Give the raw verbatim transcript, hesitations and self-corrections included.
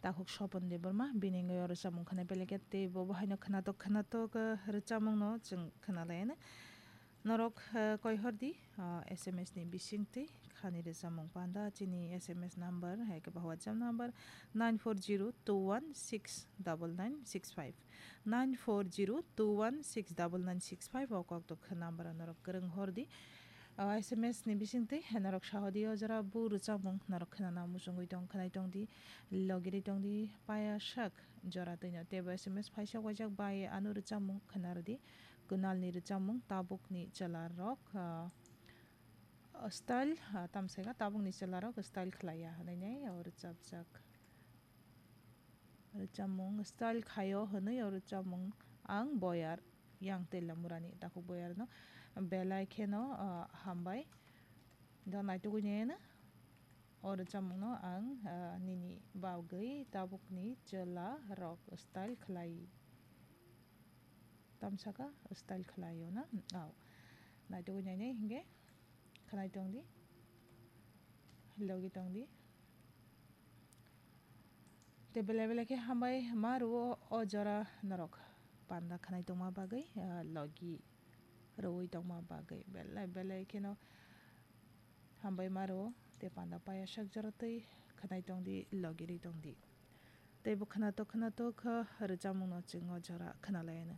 Takhuk Sopon Debbarma, bini wngwi o rwchapmung khwnai belai khe tei bo bo haino khwnatok khwnatok, eh, rwchapmungno chwng khwnalaianw. Norok, eh, koihor di, ah, S M S ni bisingtwi khani rwchapmung panda chini S M S number, hai khe ba WhatsApp number nine four zero two one six double nine six five, nine four zero two one six double nine six five o koktok number o norok kwrwng hor di. Ah, S M S ni bisingtwi norok sahodi o jora bu rwchapmung norok khwnana muchungwi tong, khwnai tong di, logirwi tong di, paya sak jora twino teibo S M S phaisa waijak bai ano rwchapmung khwna rw di. Kunalni rwchapmung Tabukni Chwlarok, ah, style, ah, tamsaka Tabukni Chwlarok style khlaiya hwnwi nai o rwchapjak. Rwchapmung style khaio hwnwi o rwchapmung ang Boyar, yang Teilamurani takhuk Boyarno belai kheno, ah, hambai. Do naitugwi nai o rwchapmungno ang, ah, nini bagwi Tabukni Chwlarok style khlai. Tamsaka style khlaio na? Au. Naitugwi nainai hinkhe khwnai tong di. Logi tong di. Tei belai belai khe hambai ma rwo o jora norok panda khwnai tongma bagwi, ah, logi rwui tongma bagwi belai belai kheno hambai ma rwo tei panda paya sak jora tei khwnai tong di, logi rwi tong di. Tei bo khwnatok khwnatok khe rwchapmungno chwng o jora khwnalaianw.